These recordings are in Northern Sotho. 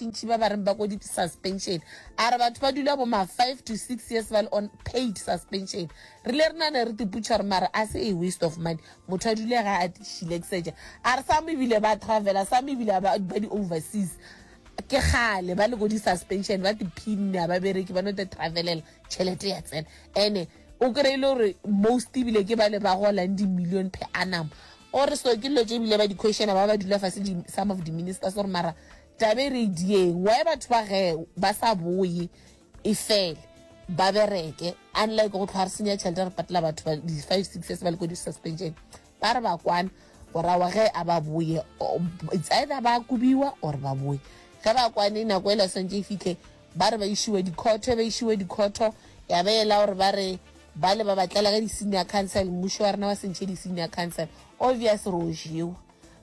bantšintši ba ba reng ba ko di-suspension. A re batho ba dula bo ma 5 to 6 years ba le on paid suspension. Re ile re nane re tiputša gore mara a se a waste of money. Motho a dule ga a šileksetša. A re some ebile ba travela, some ebile ba ba di-overseas. Ke kgale ba le ko di-suspension ba tiphinne a ba bereke ba no te travelela tšhelete ya tsena. Ene o kry-e le gore most ebile ke bale ba golang di-million per annum. O re so ke dilo tše ebile ba di questiona ba ba dula fase di some of the ministers gore mara taba e re e dieng why batho ba ge ba sa boye e fele ba bereke unlike go tlhwa re senya tšhelete re patela batho ba di 5 6 years ba le ko di suspension ba re ba kwana gore awa ge a ba boye it's either ba kobiwa or ba boye ge ba kwane nako e la swantše e fitlhe Ba re ba išiwe dikhotho, ba išiwe dikhotho, ya ba ela gore ba re bale ba ba tlela ka di-senior council, mmušo wa rena wa se ntšhe di-senior council. Obvious re o jewa.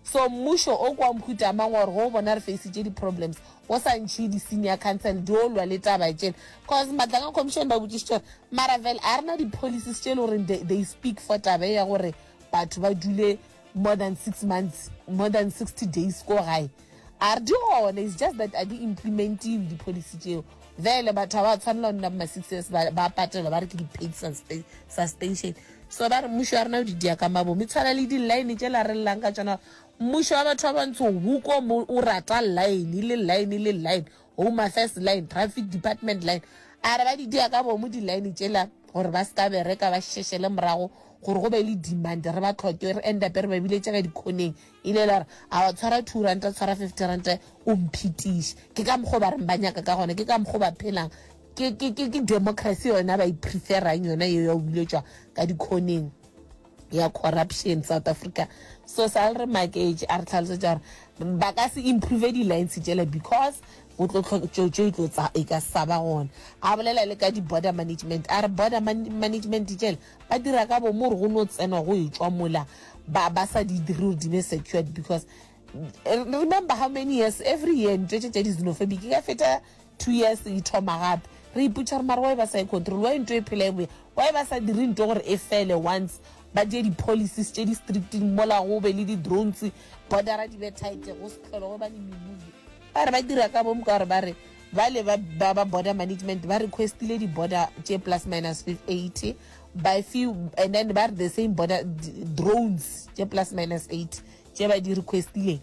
So mmušo o kwa mohuta mang wa gore ge o bona re facitše di-problems, o sa ntšhe di-senior council di o lwa le taba tšela. Cause Madlanga Commission ba botšišitše gore mara vele a re na di-policies tše e le goreng they, they speak for taba e ya gore batho ba dule more than six months, more than 60 days ko gae. A re di gona, it's just that a di implementiwe di-policy tšeo. Vele batho ga ba tshwanela go nna bo ma six years ba ba patelwa ba re ke di-paid suspension. So ba re mmušo wa rena o di dia ka mabomo. E tshwana le di-line tšela re llang ka tšona gore mmušo wa batho ba bantsho huko mo o rata line le line le line, Home Affairs line, Traffic Department line. A re ba di dia ka bomo di-line tšela gore ba se ka bereka ba šešele morago gore go be le demand re ba tlhoke re end up re ba biletše ka dikhoneng Ile la re, A wa tshwara two ranta, tshwara fifty ranta, o mphetiše. Ke ka mokgwa o ba reng ba nyaka ka gona, ke ka mokgwa o ba phelang. Ke, ke, ke, ke democracy yona ba e preferang yona yeo ya go biletšwa ka dikhoneng ya corruption South Africa. So sa le re maketše, a re tlhalosetša gore ba ka se improve di-lines tšela because go tlo tlho, tšo, tšo e tlo tsa, e ka sa ba gona. A bolela le ka di-border management, a re border man, management tšela ba dira ka bomo gore go no tsenwa go etšwa mola ba ba sa di dire gore di be secured because eh, remember how many years every year ntho tše tša di-xenophobic e ka feta two years e thoma gape re ipotša gore mara why ba sa e control why ntho e phela e boya why ba sa dire ntho gore e fele once ba die di-policies tše di strict mola go be le di-drones bordera di be tight go se tlhole go ba le memuvi ba re ba dira ka bomo ka gore ba re bale ba ba ba border management ba requestile di-border tše plus minus 80 by few and then ba re the same border drones tše plus minus 80 tše ba di requestileng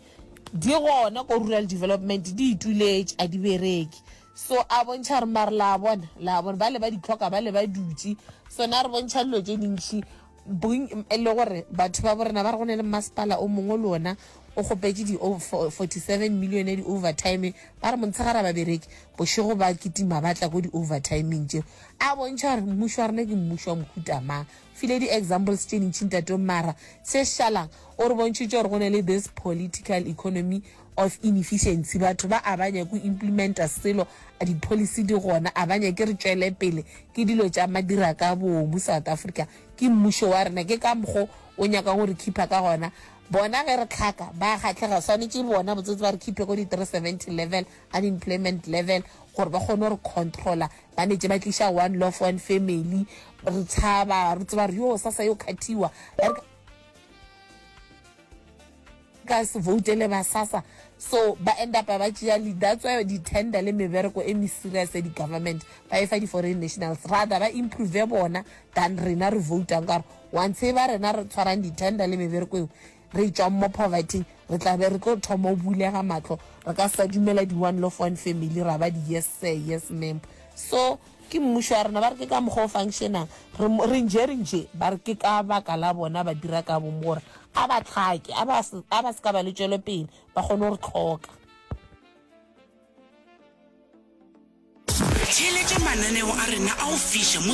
di gona ko rural development di ituletše a di bereke so a bontšha gore mare la bona la bona ba le ba di tlhoka ba le ba dutše so na re bontšha dilo tše dintšhi E le gore batho ba borena ba re go ne le mmasepala o mongwe le ona o kgopetše di 47 million ya di-overtime, ba re montshegare a ba bereke, bošego ba kitima ba tla ko di-overtimeng tšeo. A bontšha gore mmušo wa rena ke mmušo wa mohuta mang. File di-examples tše dintši ntate mara se šalang o re bontšhitše gore go ne le this political economy of inefficiency, batho ba a ba nyake go implementa selo, di-policy di gona, a ba nyake re tšwele pele, ke dilo tša madira ka boomo South Africa. Ke mmušo wa rena, ke ka mokgo o nyakang go re khipha ka gona. Bona ge re tlhaka, ba kgahlega, swanetše bona botsotsi ba re khiphe ko di 370 level, unemployment level, gore ba kgone go re controller. Ba netše ba tliša one loaf one family, re tshaba, re tseba gore yo sasa yo khathiwa. Ka se voutele ba SASSA so ba end up ba tšea le that's why di tender le mebereko e me serious ya di government ba e fa di foreign nationals rather ba improve bona than rena re voutang ka gore once e ba rena re tshwarang di tender le mebereko eo re tšwang mo poverty re tla be re tlo thoma o bulega matlho re ka sa dumela di one loaf one family ra ba di yes sir yes ma'am so Ke mmušo wa rena, ba re ke ka mokgwa o functionang. Re, re nje, re nje, ba re ke ka baka la bona ba dira ka bomo gore a ba tlhake, a ba, a ba se ka ba le tšwelopele, ba kgone go re hloka. Theeletša mananeo a rena a go fiša mo.